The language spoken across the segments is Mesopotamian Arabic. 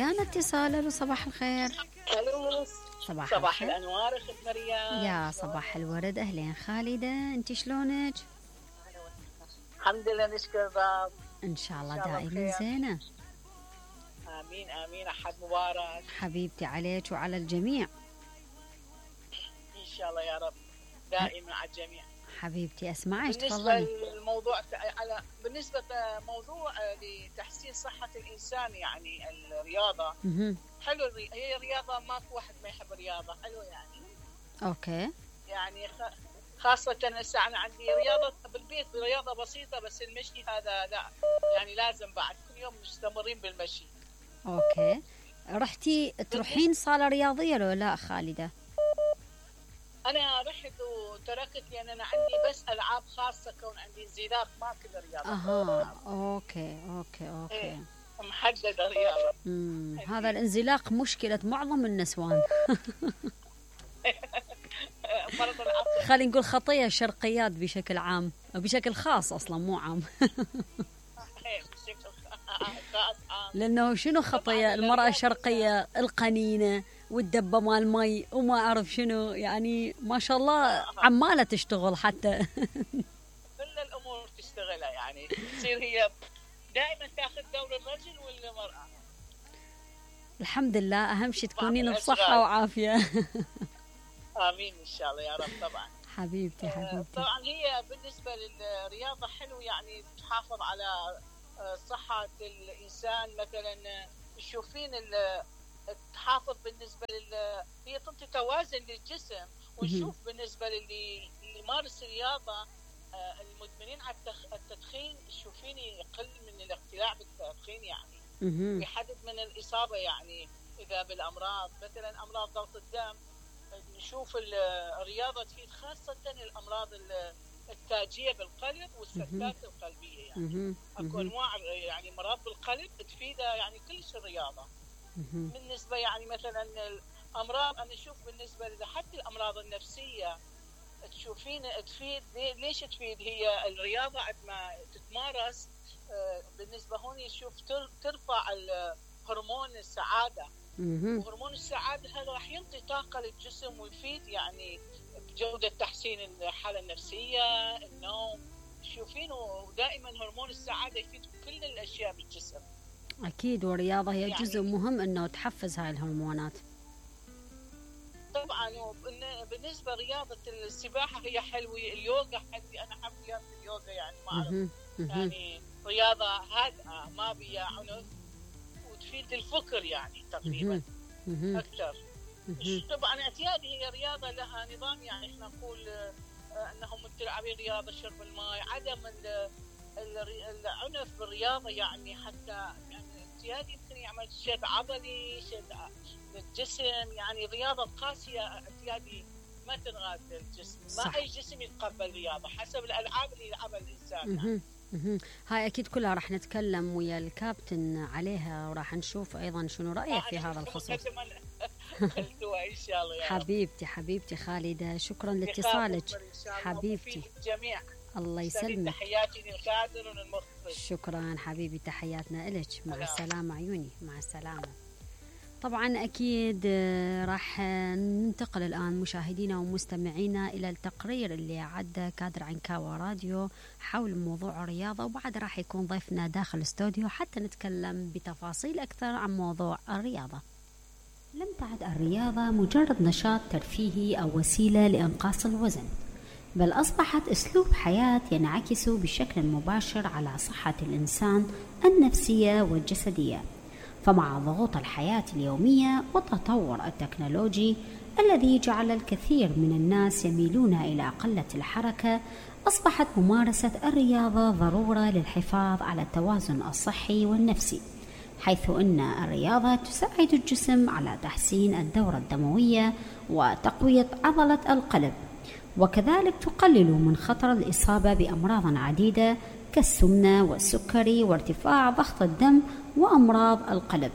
ويانا اتصال. الو صباح الخير. الو صباح الانوار اخت مريم. يا صباح الورد، اهلين خالده، انت شلونك؟ الحمد لله نشكر الرب. ان شاء الله دائما زينه. امين امين. احد مبارك حبيبتي عليك وعلى الجميع ان شاء الله يا رب، دائما على الجميع. حبيبتي اسمعك تفضلي. بالنسبه موضوع لتحسين صحه الانسان، يعني الرياضه. حلو، هي رياضه، ماكو واحد ما يحب الرياضه، حلو يعني. اوكي. يعني خاصه هسه انا عندي رياضه بالبيت، رياضه بسيطه، بس المشي هذا لا، يعني لازم بعد كل يوم مستمرين بالمشي. اوكي. رحتي تروحين صاله رياضيه لو لا خالده؟ انا رحت وتركت لان انا عندي بس العاب خاصه، كون عندي انزلاق ما كل رياضه. اوكي. إيه. محدده رياضه. هذا الانزلاق مشكله معظم النسوان. مرض العصر. خلينا نقول خطيه الشرقيات بشكل عام، بشكل خاص اصلا مو عام. بشكل خاص عام. لانه شنو خطيه المراه الشرقيه؟ القنينه والدبه مال مي وما اعرف شنو، يعني ما شاء الله عماله تشتغل حتى. كل الامور تشتغلها، يعني تصير هي دائما تاخذ دور الرجل والمراه. الحمد لله، اهم شيء تكونين بصحه وعافيه. امين ان شاء الله يا رب. طبعا حبيبتي. طبعا هي بالنسبه للرياضه حلو، يعني تحافظ على صحه الانسان. مثلا تشوفين تحافظ بالنسبه هي تعطي توازن للجسم. ونشوف بالنسبه للي يمارس الرياضه، المدمنين على التدخين، تشوفيني يقل من الاقتلاع بالتدخين، يعني يحدد من الاصابه، يعني اذا بالامراض، مثلا امراض ضغط الدم. نشوف الرياضه تفيد خاصه الامراض التاجيه بالقلب والسكتات القلبيه، يعني اكو انواع يعني مرض بالقلب تفيدها يعني كلش الرياضه. بالنسبه يعني مثلا الامراض، انا اشوف بالنسبه حتى الامراض النفسيه تشوفين تفيد. ليش تفيد هي الرياضه عندما تتمارس؟ بالنسبه هون نشوف ترفع هرمون السعاده. وهرمون السعاده هذا راح ينطي طاقه للجسم ويفيد يعني بجوده تحسين الحاله النفسيه، النوم. تشوفينه دائما هرمون السعاده يفيد كل الاشياء بالجسم. اكيد، والرياضه هي يعني جزء مهم انه تحفز هاي الهرمونات. طبعا. بالنسبه لرياضه السباحه هي حلوه، اليوغا حلوه، انا احب رياضه اليوغا، يعني ما اعرف يعني رياضه هادئه ما بيها عنف وتفيد الفكر يعني تقريبا اكثر. طبعا اعتيادي هي رياضه لها نظام، يعني احنا نقول انهم تلعبين رياضه شرب الماء، عدم العنف بالرياضه، يعني حتى يعني اعتيادي يمكن يعمل شد عضلي، شد للجسم، يعني رياضه قاسيه اعتيادي ما تنغاد الجسم. ما اي جسم يتقبل رياضه حسب الالعاب اللي يلعبها الانسان يعني. هاي أكيد كلها راح نتكلم ويا الكابتن عليها، وراح نشوف أيضا شنو رأيه في هذا الخصوص. إن شاء الله يا حبيبتي خالدة، شكرا لاتصالك حبيبتي. الجميع الله يسلمك. تحياتي للكادر والمخرج. شكرا حبيبي، تحياتنا إلك. مع السلامة عيوني، مع السلامة. طبعا أكيد راح ننتقل الآن مشاهدينا ومستمعينا إلى التقرير اللي عد كادر عنكاوى راديو حول موضوع الرياضة، وبعد راح يكون ضيفنا داخل الاستوديو حتى نتكلم بتفاصيل أكثر عن موضوع الرياضة. لم تعد الرياضة مجرد نشاط ترفيهي أو وسيلة لإنقاص الوزن، بل أصبحت أسلوب حياة ينعكس بشكل مباشر على صحة الإنسان النفسية والجسدية. فمع ضغوط الحياة اليومية والتطور التكنولوجي الذي جعل الكثير من الناس يميلون إلى قلة الحركة، أصبحت ممارسة الرياضة ضرورة للحفاظ على التوازن الصحي والنفسي، حيث أن الرياضة تساعد الجسم على تحسين الدورة الدموية وتقوية عضلة القلب، وكذلك تقلل من خطر الإصابة بأمراض عديدة كالسمنة والسكري وارتفاع ضغط الدم وأمراض القلب.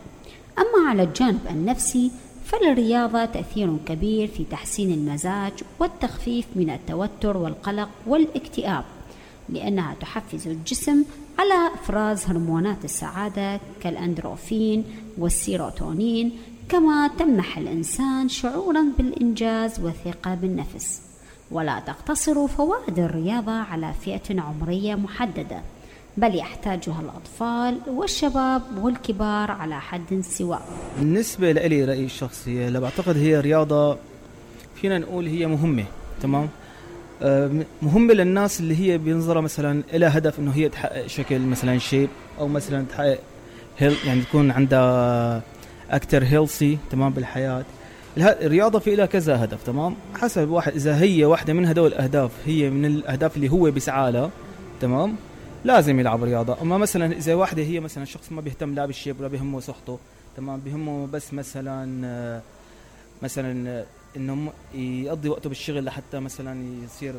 أما على الجانب النفسي فللرياضة تأثير كبير في تحسين المزاج والتخفيف من التوتر والقلق والاكتئاب، لأنها تحفز الجسم على إفراز هرمونات السعادة كالأندروفين والسيروتونين، كما تمنح الإنسان شعورا بالإنجاز والثقة بالنفس. ولا تقتصر فوائد الرياضة على فئة عمرية محددة، بل يحتاجها الأطفال والشباب والكبار على حد سواء. بالنسبة لي رأيي الشخصي، لا بعتقد هي رياضة فينا نقول هي مهمة، تمام، مهمة للناس اللي هي بينظرها مثلا إلى هدف إنه هي تحقق شكل مثلا شيب، أو مثلا تحقق يعني تكون عندها أكتر هيلثي، تمام، بالحياة. الرياضة في لها كذا هدف، تمام، حسب واحد. إذا هي واحدة من هدول الأهداف هي من الأهداف اللي هو بيسعى لها، تمام، لازم يلعب رياضة. أما مثلا إذا واحدة هي مثلا شخص ما بيهتم لا بالشيب ولا بيهمه صحته، تمام، بيهمه بس مثلا إنه يقضي وقته بالشغل لحتى مثلا يصير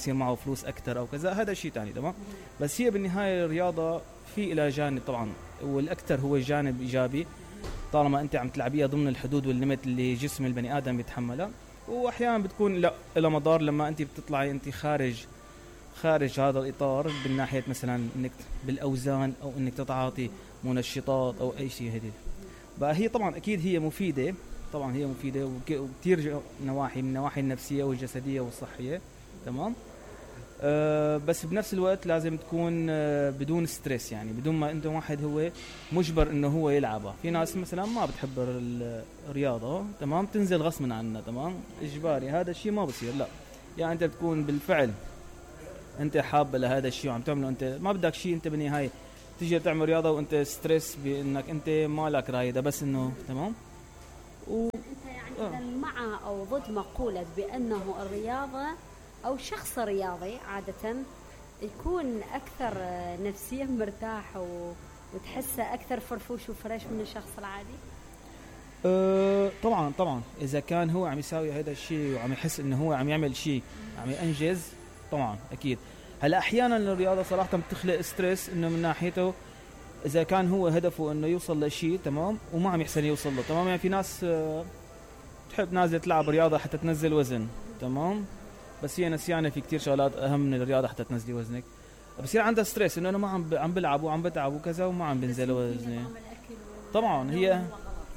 معه فلوس أكتر أو كذا، هذا شيء تاني، تمام. بس هي بالنهاية الرياضة في إلى جانب طبعا، والأكثر هو جانب إيجابي طالما أنت عم تلعبيها ضمن الحدود والليمت اللي جسم البني آدم بيتحملها. وأحيانا بتكون لا إلى مضار لما أنت بتطلعي أنت خارج هذا الإطار، بالناحية مثلا إنك بالأوزان أو إنك تتعاطي منشطات أو أي شيء. هذه بقى هي طبعا أكيد هي مفيدة، طبعا هي مفيدة وكتير نواحي، من النواحي النفسية والجسدية والصحية، تمام. بس بنفس الوقت لازم تكون بدون ستريس، يعني بدون ما انت واحد هو مجبر انه هو يلعبها. في ناس مثلا ما بتحب الرياضة، تمام، تنزل غصبا عنها، تمام، اجباري، هذا الشيء ما بصير. لا، يعني انت بتكون بالفعل انت حابة لهذا الشيء وعم تعمله، انت ما بدك شيء، انت بالنهاية تيجي تعمل رياضة وانت ستريس بانك انت ما لك رايدة، بس انه تمام. انت يعني مع او ضد مقولة بانه الرياضة أو شخص رياضي عادة يكون أكثر نفسيا مرتاح وتحسه أكثر فرفوش وفريش من الشخص العادي؟ طبعا إذا كان هو عم يساوي هذا الشيء وعم يحس إنه هو عم يعمل شيء عم ينجز، طبعا أكيد. هلا أحيانا الرياضة صراحة بتخلق ستريس، إنه من ناحيته إذا كان هو هدفه إنه يوصل لشيء، تمام، وما عم يحسن يوصل له، تمام. يعني في ناس تحب نازلة تلعب رياضة حتى تنزل وزن، تمام، بس هي نسيانة في كتير شغلات أهم من الرياضة حتى تنزلي وزنك. بصير عندها ستريس إنه أنا ما عم بلعب وعم بتعب وكذا وما عم بنزل وزني.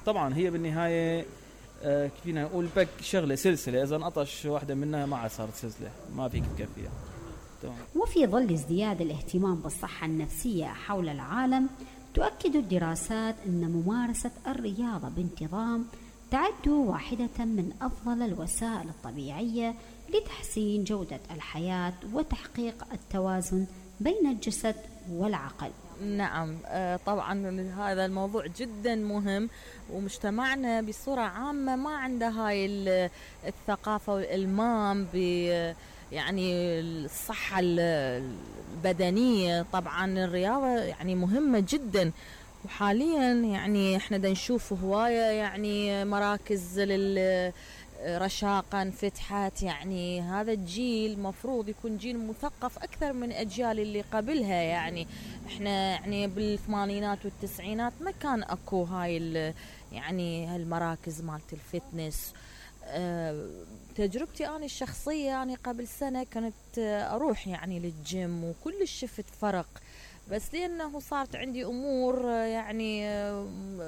طبعا هي بالنهاية فينا نقول بك شغلة سلسلة، إذا انقطش واحدة منها ما صارت سلسلة، ما فيك تكفيها. وفي ظل ازدياد الاهتمام بالصحة النفسية حول العالم، تؤكد الدراسات أن ممارسة الرياضة بانتظام تعد واحدة من أفضل الوسائل الطبيعية لتحسين جودة الحياة وتحقيق التوازن بين الجسد والعقل. نعم، طبعا هذا الموضوع جدا مهم، ومجتمعنا بصورة عامة ما عنده هاي الثقافة والإلمام يعني الصحة البدنية. طبعا الرياضة يعني مهمة جدا، وحاليا يعني احنا دا نشوف هواية يعني مراكز رشاقا انفتحت. يعني هذا الجيل مفروض يكون جيل مثقف أكثر من أجيال اللي قبلها. يعني احنا يعني بالثمانينات والتسعينات ما كان أكو هاي يعني هالمراكز مالت الفتنس. تجربتي أنا الشخصية يعني قبل سنة كانت أروح يعني للجيم وكل شفت فرق، بس لأنه صارت عندي أمور يعني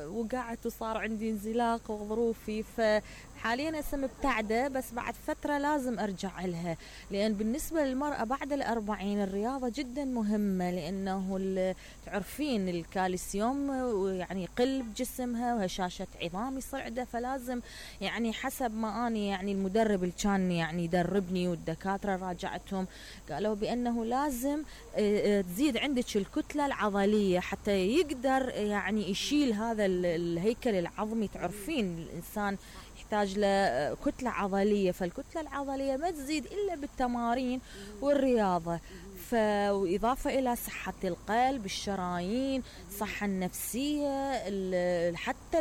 وقعت وصار عندي انزلاق وظروفي، فحاليا هسه مبتعدة، بس بعد فترة لازم أرجع لها. لأن بالنسبة للمرأة بعد 40 الرياضة جدا مهمة، لأنه تعرفين الكالسيوم يعني يقل بجسمها وهشاشة عظام يصير عندها، فلازم يعني حسب ما أنا يعني المدرب اللي كان يعني يدربني والدكاترة راجعتهم قالوا بأنه لازم تزيد عندك الكتلة العضلية حتى يقدر يعني يشيل هذا الهيكل العظمي. تعرفين الإنسان يحتاج لكتلة عضلية، فالكتلة العضلية ما تزيد إلا بالتمارين والرياضة. وإضافة إلى صحة القلب، الشرايين، الصحة النفسية، حتى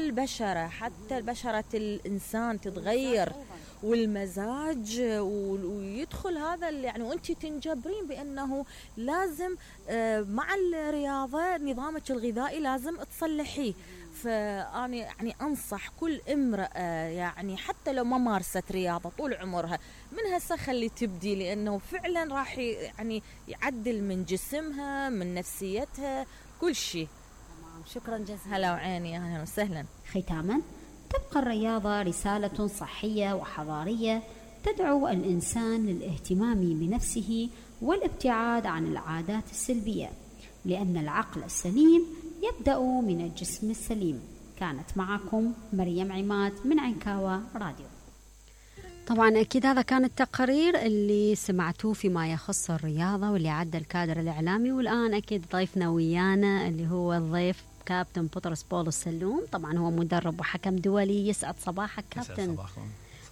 البشرة الإنسان تتغير والمزاج ويدخل هذا يعني وانت تنجبرين بانه لازم مع الرياضه نظامك الغذائي لازم تصلحيه. فأنا يعني أنصح كل امرأة يعني حتى لو ما مارست رياضة طول عمرها من هسه خلي تبدي، لأنه فعلا راح يعني يعدل من جسمها من نفسيتها كل شيء. شكرا جزيلا. هلا وعيني، أهلا وسهلا. ختاما، تبقى الرياضة رسالة صحية وحضارية تدعو الإنسان للاهتمام بنفسه والابتعاد عن العادات السلبية، لأن العقل السليم يبدأ من الجسم السليم. كانت معكم مريم عماد من عنكاوة راديو. طبعا أكيد هذا كان التقرير اللي سمعتوه فيما يخص الرياضة واللي عد الكادر الإعلامي، والآن أكيد ضيفنا ويانا اللي هو الضيف كابتن بطرس بولس سلوم. طبعا هو مدرب وحكم دولي. يسعد صباحك كابتن.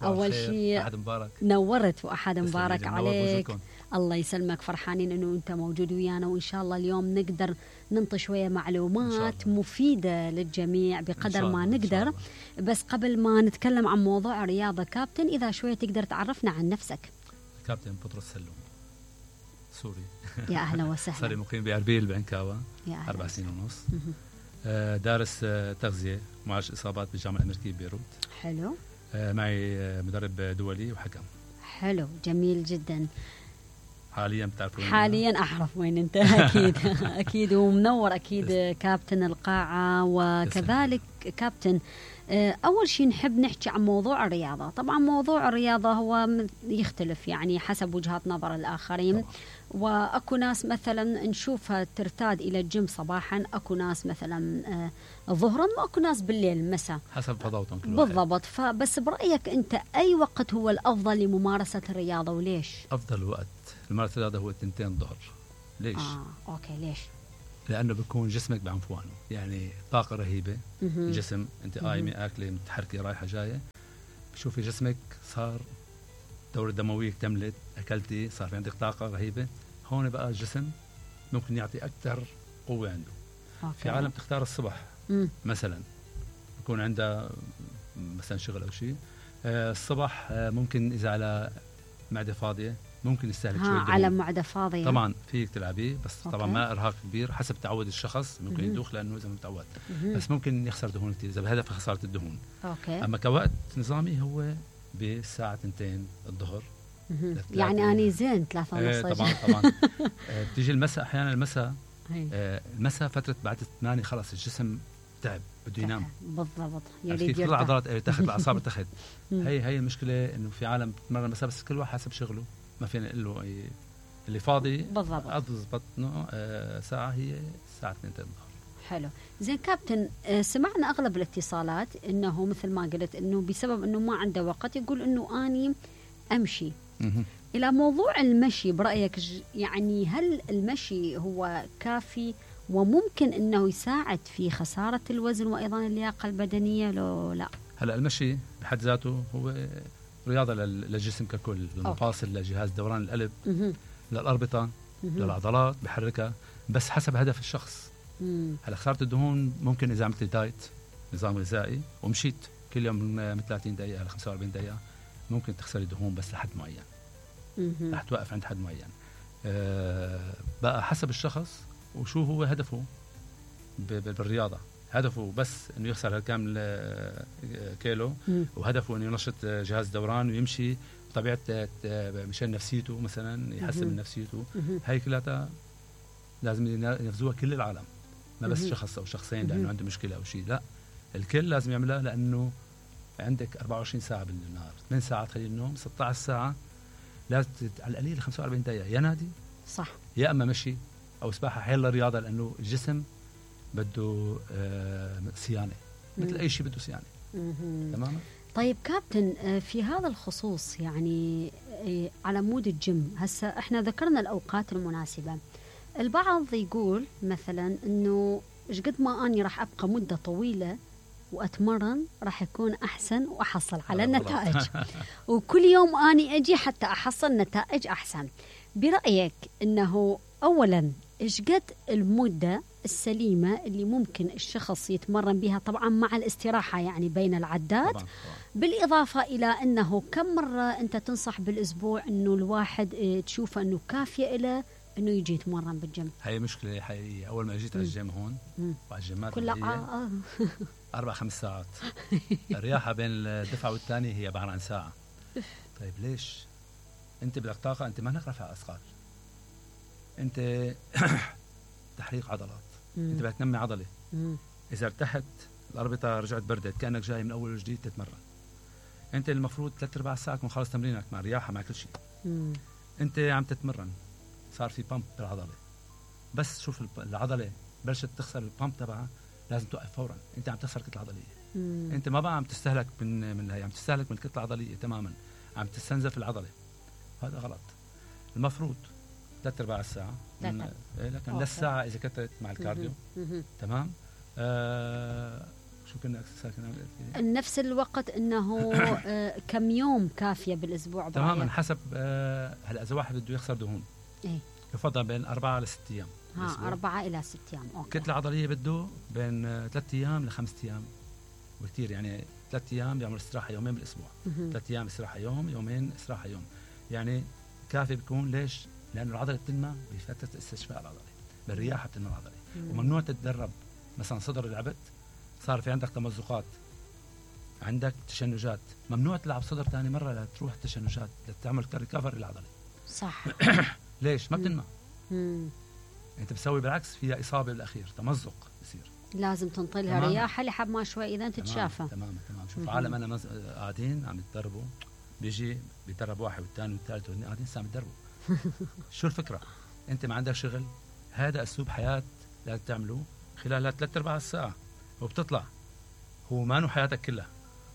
أول شيء أحد مبارك. نورت وأحد مبارك عليك. الله يسلمك، فرحانين أنه أنت موجود ويانا، وإن شاء الله اليوم نقدر ننطي شوية معلومات مفيدة للجميع بقدر ما نقدر. بس قبل ما نتكلم عن موضوع الرياضة كابتن، إذا شوية تقدر تعرفنا عن نفسك. كابتن بطرس سلوم، سوري. يا أهلا وسهلا. صار مقيم بأربيل بعنكاوة 4 سنين ونص. دارس تغذية معالجة إصابات بالجامعة الأمريكية ببيروت. حلو. معي مدرب دولي وحكم. حلو، جميل جدا. حاليا بتعرفون؟ حاليا أعرف وين أنت. أكيد أكيد، ومنور أكيد كابتن القاعة. وكذلك كابتن، أول شيء نحب نحكي عن موضوع الرياضة. طبعا موضوع الرياضة هو يختلف يعني حسب وجهات نظر الآخرين. وأكو ناس مثلا نشوفها ترتاد إلى الجيم صباحا، أكو ناس مثلا ظهرا، وأكو ناس بالليل مساء حسب فضاوتهم كل بالضبط. فبس برأيك أنت أي وقت هو الأفضل لممارسة الرياضة وليش؟ أفضل وقت لممارسة الرياضة هو 2 الظهر. ليش؟ أوكي، ليش؟ لأنه بيكون جسمك بعنفوانه، يعني طاقة رهيبة. الجسم أنت قايمة أكلة متحركة رايحة جاية، بشوفي جسمك صار الدورة الدموية اكتملت، أكلتي، صار في عندك طاقة رهيبة. هون بقى الجسم ممكن يعطي أكثر قوة عنده. في عالم تختار الصبح مثلا يكون عندها مثلا شغل أو شيء الصبح، ممكن إذا على معدة فاضية ممكن يستهلك شوية دهون. على معدة فاضية طبعا فيك تلعبيه، بس طبعا ما إرهاق كبير حسب تعود الشخص. ممكن يدوخ لأنه إذا متعود، بس ممكن يخسر دهون كتير إذا بهدف خسارة الدهون. أما كوقت نظامي هو بالساعة 2 الظهر. يعني أنا زين 3:30. طبعا بتيجي المساء أحيانا. المساء فترة بعد 8 خلاص الجسم تعب بده ينام. بالضبط، يريد كل العضلات تاخذ الأعصاب تاخذ. هي المشكلة إنه في عالم بتمرن مساء، بس كل واحد حسب شغله ما فينا نقول له اللي فاضي بالضبط أضبط ساعة هي الساعة 2 الظهر. حلو، زين كابتن. سمعنا أغلب الاتصالات إنه مثل ما قلت إنه بسبب إنه ما عنده وقت يقول إنه أني أمشي. إلى موضوع المشي، برأيك يعني هل المشي هو كافي وممكن أنه يساعد في خسارة الوزن وأيضا اللياقة البدنية لو لا؟ هلا المشي بحد ذاته هو رياضة للجسم ككل، للمفاصل، لجهاز دوران القلب، للأربطة، للعضلات بحركها، بس حسب هدف الشخص. هلا خسارة الدهون ممكن إذا عملت دايت نظام غذائي ومشيت كل يوم من 30 دقيقة ل 45 دقيقة ممكن تخسري دهون، بس لحد معين. رح توقف عند حد معين. بقى حسب الشخص وشو هو هدفه بالرياضة. هدفه بس انه يخسر هالكامل كيلو، وهدفه انه ينشط جهاز دوران ويمشي بطبيعة مشان نفسيته مثلا، يحسن من نفسيته. هاي كلها لازم ينفذوها كل العالم، ما بس شخص او شخصين لانه عنده مشكلة او شيء. لا، الكل لازم يعملها، لانه عندك 24 ساعة بالنهار، 8 ساعات خلال النوم، 16 ساعة لازم على القليل 45 دقيقة يا نادي صح، يا اما مشي او سباحة. حيلا رياضة، لانه الجسم بده صيانة مثل اي شيء بده صيانة. تماما. طيب كابتن، في هذا الخصوص يعني على مود الجيم، هسه احنا ذكرنا الاوقات المناسبة. البعض يقول مثلا انه ايش قد ما اني راح ابقى مدة طويلة وأتمرن راح يكون أحسن وأحصل على النتائج، وكل يوم أني أجي حتى أحصل نتائج أحسن. برأيك أنه أولا إيش قد المدة السليمة اللي ممكن الشخص يتمرن بها طبعا مع الاستراحة يعني بين العدات طبعاً. بالإضافة إلى أنه كم مرة أنت تنصح بالأسبوع أنه الواحد تشوفه أنه كافية له أنه يجي يتمرن بالجيم؟ هي مشكلة حقيقية. أول ما جيت على الجيم هون وعلى الجيمات كلها 4-5 ساعات الرياحة بين الدفعة والثانية هي عبارة عن ساعة. طيب ليش؟ أنت بدك طاقة، أنت ما لك رفع أثقال، أنت تحريق عضلات، أنت بدك تنمي عضلة. إذا ارتحت الأربطة رجعت بردت كأنك جاي من أول وجديد تتمرن. أنت المفروض 3/4 ساعة تكون خلص تمرينك مع رياحة مع كل شيء. أنت عم تتمرن صار في بامب بالعضلة، بس شوف العضلة بلشت تخسر البامب تبعها لازم توقف فورا. أنت عم تخسر كتلة عضلية. أنت ما بقى عم تستهلك من هي عم تستهلك من الكتلة العضلية تماما، عم تستنزف العضلة. هذا غلط. المفروض 3/4 ساعة لكن للساعة إذا كترت مع الكارديو. تمام. شو كنا نفس الوقت انه كم يوم كافيه بالاسبوع؟ تماما حسب. هلا اذا واحد بده يخسر دهون يفضل بين 4 ل 6 ايام. 4 إلى 6 أيام. أوكي. كتلة عضلية بده بين 3 أيام ل5 أيام وكتير. يعني 3 أيام بيعمل استراحة يومين بالاسبوع، 3 أيام استراحة يوم، يومين استراحة يوم، يعني كافي بيكون. ليش؟ لانه العضله بتنمى بفتره استشفاء العضله، بالرياحه بتنمى العضله. وممنوع تتدرب مثلا صدر لعبت صار في عندك تمزقات، عندك تشنجات، ممنوع تلعب صدر ثاني مره لتروح التشنجات لتعمل ريكفر للعضله. صح. ليش؟ ما بتنمى. انت بتسوي بالعكس، فيها اصابه بالاخير، تمزق بصير، لازم تنطلها رياحه لحد ما شوي اذا تتشافى. تمام. شوف عالم انا قاعدين عم يتدربوا، بيجي بيدرب واحد والثاني والثالث والثاني قاعدين عم يتدربوا. شو الفكره؟ انت ما عندك شغل، هذا اسلوب حياه لازم تعمله خلال 3/4 ساعه وبتطلع، هو ما نو حياتك كلها.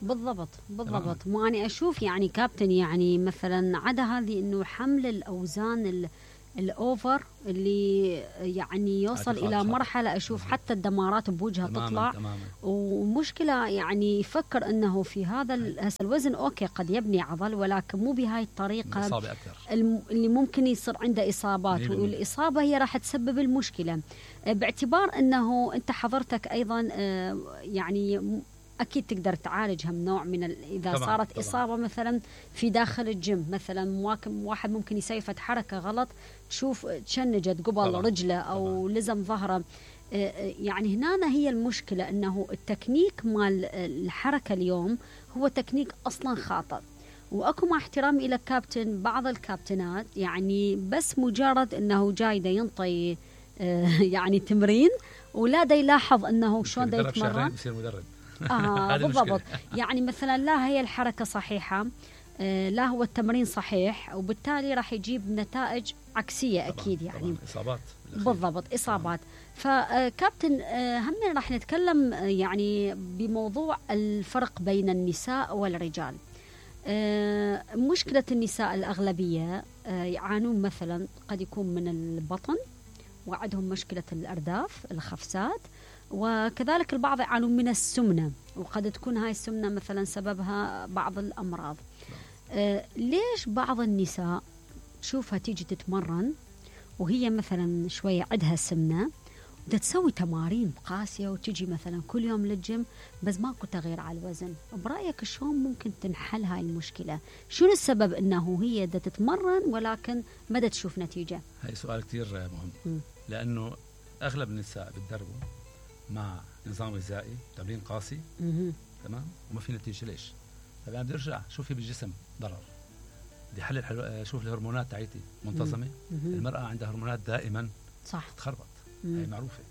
بالضبط. ما أنا أشوف يعني كابتن، يعني مثلا عدا هذه إنه حمل الأوزان الأوفر اللي يعني يوصل إلى مرحلة أشوف حتى الدمارات بوجهها تطلع. تماماً. ومشكلة يعني يفكر أنه في هذا الوزن أوكي قد يبني عضل، ولكن مو بهاي الطريقة اللي ممكن يصير عنده إصابات، والإصابة هي راح تسبب المشكلة. باعتبار أنه أنت حضرتك أيضا يعني أكيد تقدر تعالجها من نوع من إذا طبعاً صارت إصابة مثلا في داخل الجيم، مثلا واحد ممكن يسوي حركة غلط تشوف تشنجت قبل رجله أو لزم ظهره. يعني هنا هي المشكلة، أنه التكنيك مال الحركة اليوم هو تكنيك أصلا خاطئ. وأكو مع احترامي إلى كابتن، بعض الكابتنات يعني بس مجرد أنه جاي دا ينطي يعني تمرين ولا دا يلاحظ أنه شلون دا يتمرن يصير مدرب. بالضبط. يعني مثلا لا هي الحركة صحيحة، لا هو التمرين صحيح، وبالتالي راح يجيب نتائج عكسية أكيد. يعني إصابات بالضبط، إصابات. فكابتن هم راح نتكلم يعني بموضوع الفرق بين النساء والرجال. مشكلة النساء الأغلبية يعانون مثلا قد يكون من البطن، وعندهم مشكلة الأرداف الخفسات، وكذلك البعض يعانون من السمنة، وقد تكون هاي السمنة مثلا سببها بعض الأمراض. ليش بعض النساء تشوفها تيجي تتمرن وهي مثلا شوية عندها سمنة بدها تسوي تمارين قاسية وتجي مثلا كل يوم للجيم بس ماكو تغيير على الوزن؟ برأيك شلون ممكن تنحل هاي المشكلة؟ شنو السبب انه هي بدها تتمرن ولكن ما بدها تشوف نتيجة؟ هاي سؤال كتير مهم. لأنه أغلب النساء بتدربوا مع نظام غذائي، تمرين قاسي، تمام، وما في نتيجة. ليش؟ طيب أنا بدي أرجع شوف في بالجسم ضرر، بدي حلل شوف الهرمونات تاعتي منتظمة. المرأة عندها هرمونات دائما صح تخربط، هي معروفة.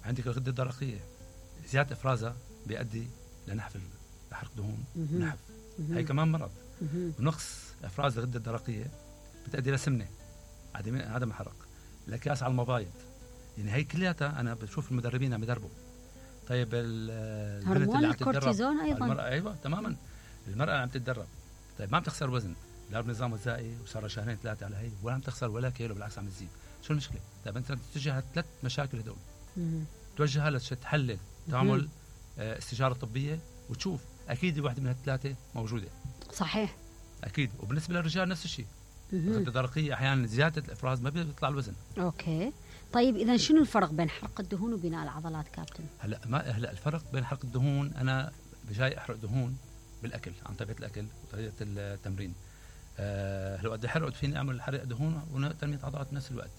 عندك الغدة الدرقية زيادة إفرازها بيؤدي لنحف لحرق دهون ونحف، هي كمان مرض. ونقص إفراز الغدة الدرقية بتؤدي لسمنة، عدم حرق، الأكياس على المبايض. يعني هي كلياتها أنا بشوف المدربين عم يدربوا. طيب هرمون الكورتيزون أيضا. أيوة تماما. المرأة عم تتدرب، طيب ما عم تخسر وزن، لا بنظام غذائي وصار 2-3 على هي، ولا عم تخسر ولا كيلو، بالعكس عم تزيد. شو المشكلة؟ طيب أنت تتجه 3 مشاكل هدول، توجهها لتحلل، تعمل استشارة طبية وتشوف أكيد واحدة من ال3 موجودة. صحيح. أكيد. وبالنسبة للرجال نفس الشيء، الغدة الدرقية أحيانا زيادة الإفراز ما بيطلع الوزن. أوكي. طيب اذا شنو الفرق بين حرق الدهون وبناء العضلات كابتن؟ هلا الفرق بين حرق الدهون، انا بجاي احرق دهون بالاكل عن طريقه الاكل وطريقه التمرين. لو بدي احرق فيني اعمل حرق دهون وتنميه عضلات بنفس الوقت.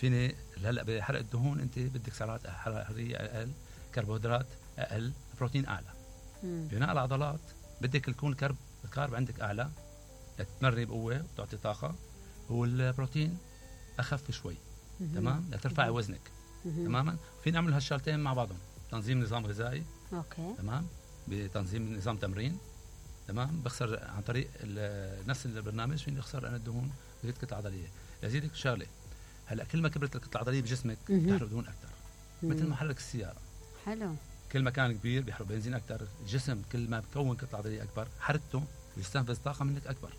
فيني هلا بحرق الدهون انت بدك سعرات حراريه اقل، كربوهيدرات اقل، بروتين اعلى. بناء العضلات بدك يكون الكارب عندك اعلى لتمري بقوه وتعطي طاقه، والبروتين اخف شوي. تمام، لترفعي وزنك. تماما. فينا نعمل هالشغلتين مع بعضهم، تنظيم نظام غذائي. اوكي. تمام، بتنظيم نظام تمرين. تمام، بخسر عن طريق نفس البرنامج فيني اخسر انا الدهون بزيد كتله عضليه. لازيدك شغله، هلا كل ما كبرت الكتله العضليه بجسمك بتحرق دهون اكثر، مثل محرك السياره. حلو. كل ما كان كبير بيحرق بنزين اكثر، الجسم كل ما بكون كتله عضليه اكبر حركته بيستنفذ طاقه منك اكبر.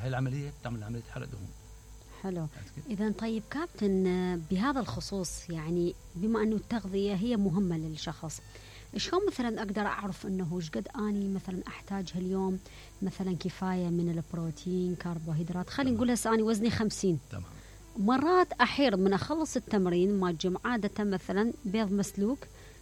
هاي العمليه بتعمل عمليه حرق دهون. حلو. إذا طيب كابتن، بهذا الخصوص يعني بما أنه التغذية هي مهمة للشخص، شلون مثلا أقدر أعرف أنه إيش قد أني مثلا أحتاج هاليوم مثلا كفاية من البروتين كربوهيدرات؟ خلينا نقول هسه أنا وزني 50. تمام. مرات أحير من أخلص التمرين ما الجيم عادة مثلا بيض مسلوق،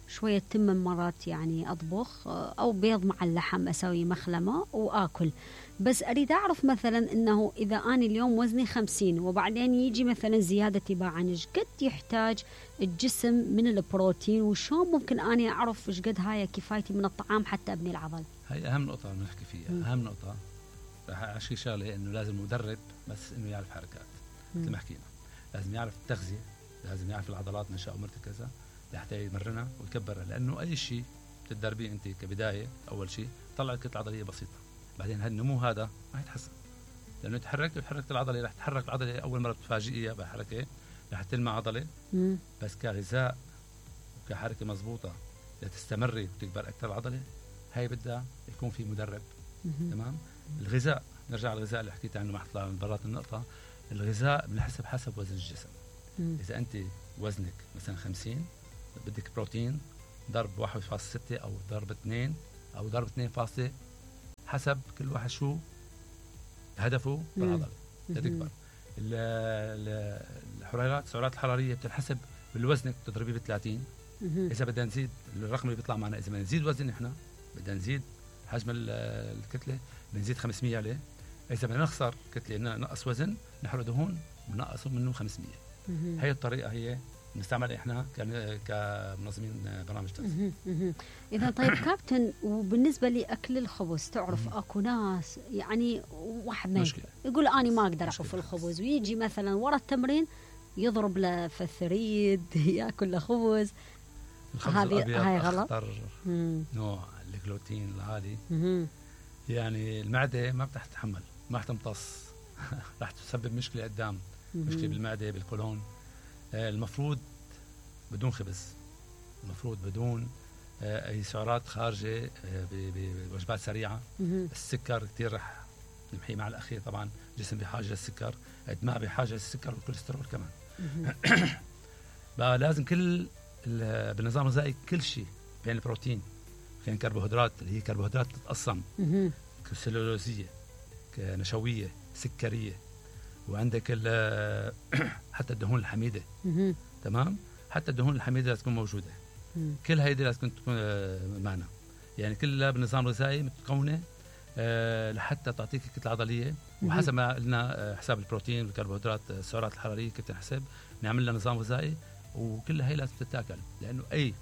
شوية تم مرات يعني أطبخ، أو بيض مع اللحم أسوي مخلمة وآكل. بس أريد أعرف مثلا أنه إذا أنا اليوم وزني 50 وبعدين يجي مثلا زيادة تباعا، إيش قد يحتاج الجسم من البروتين، وشون ممكن أنا أعرف إيش قد هاي كفايتي من الطعام حتى أبني العضل؟ هاي أهم نقطة بنحكي فيها. أهم نقطة رح أحكي شغلة، إنه لازم مدرب بس إنه يعرف حركات مثل ما حكينا، لازم يعرف التغذية، لازم يعرف العضلات نشأ ومرتكزة لحتى يمرنها ويكبرها. لأنه أي شيء بتدربيه أنت كبداية، أول شيء طلع كتلة عضلية بسيطة، بعدين هالنمو هذا ما يتحسن، لأنه تحركت العضلة، رح تتحرك العضلة أول مرة بتفاجئيها بحركة رح تلمع عضلة. بس كغذاء وكحركة مضبوطة لتستمري وتكبر أكثر العضلة، هاي بدها يكون في مدرب. تمام. الغذاء، نرجع على الغذاء اللي حكيت عنه ما حطلع من برات النقطة. الغذاء بنحسب حسب وزن الجسم. إذا أنت وزنك مثلا 50 بدك بروتين ضرب 1.6 أو ضرب 2 أو ضرب 2 حسب كل واحد شو هدفه بالعضلة لتكبر. السعرات الحرارية بتنحسب بالوزنك، بتضربيه ب30. إذا بدنا نزيد الرقم اللي بيطلع معنا، إذا بدنا نزيد وزن إحنا بدنا نزيد حجم الكتلة بنزيد 500 عليه. إذا بدنا نخسر كتلة نقص وزن نحرق دهون بنقصه منه 500. هي الطريقة هي نستعمل احنا كمنظمين برامج تغذية. اذا طيب كابتن، وبالنسبه لاكل الخبز، تعرف اكو ناس يعني واحد ما يقول اني ما اقدر احف الخبز، ويجي مثلا ورا التمرين يضرب له في الثريد ياكل له خبز. هاي غلط. نوع الجلوتين العالي يعني المعده ما بتح تتحمل، ما رح تمتص رح تسبب مشكله قدام، مشكله بالمعده بالقولون. المفروض بدون خبز، المفروض بدون اي سعرات خارجه بوجبات سريعه. السكر كثير رح نمحيه مع الاخير، طبعا الجسم بحاجه للسكر قد ما بحاجه للسكر والكوليسترول كمان. بقى لازم كل بالنظام الغذائي كل شيء، بين البروتين، بين الكربوهيدرات اللي هي كربوهيدرات تتقسم سلولوزيه، نشويه، سكريه، وعندك حتى الدهون الحميده. تمام، حتى الدهون الحميده لازم تكون موجوده. كل هيدي لازم تكون معنا، يعني كلها بالنظام الغذائي متكونه لحتى تعطيك كتله عضليه. وحسب ما قلنا حساب البروتين والكربوهيدرات السعرات الحراريه كيف تنحسب، نعمل لها نظام غذائي، وكل هي لازم تتاكل، لانه اي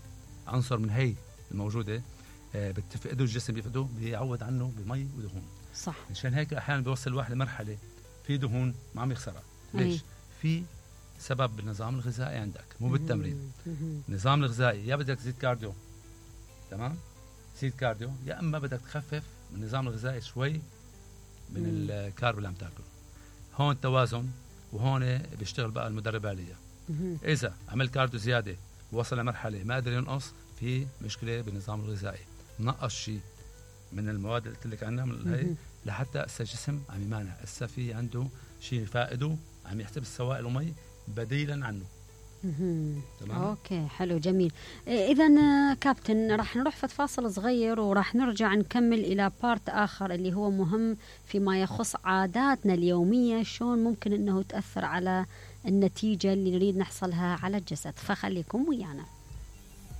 عنصر من هي الموجوده بتفقده الجسم، بيفقده بيعوض عنه بمي ودهون. صح. عشان هيك احيانا بيوصل الواحد لمرحله في دهون ما عم يخسرها. ليش؟ في سبب بالنظام الغذائي عندك، مو بالتمرين. النظام الغذائي يا بدك تزيد كارديو، تمام، تزيد كارديو، يا اما بدك تخفف من النظام الغذائي شوي من الكارب اللي عم تاكله. هون توازن، وهون بيشتغل بقى المدرب عليها. اذا عمل كارديو زياده ووصل لمرحله ما قدر ينقص، في مشكله بالنظام الغذائي، نقص شيء من المواد اللي قلت لك عنها من هي، لحتى الجسم عم يمانع، في عنده شيء فائده، عم يحتبس سوائل ومي بديلا عنه. تمام. اوكي حلو جميل. اذا كابتن راح نروح في فاصل صغير وراح نرجع نكمل الى بارت اخر اللي هو مهم فيما يخص عاداتنا اليوميه، شلون ممكن انه تاثر على النتيجه اللي نريد نحصلها على الجسد، فخليكم ويانا.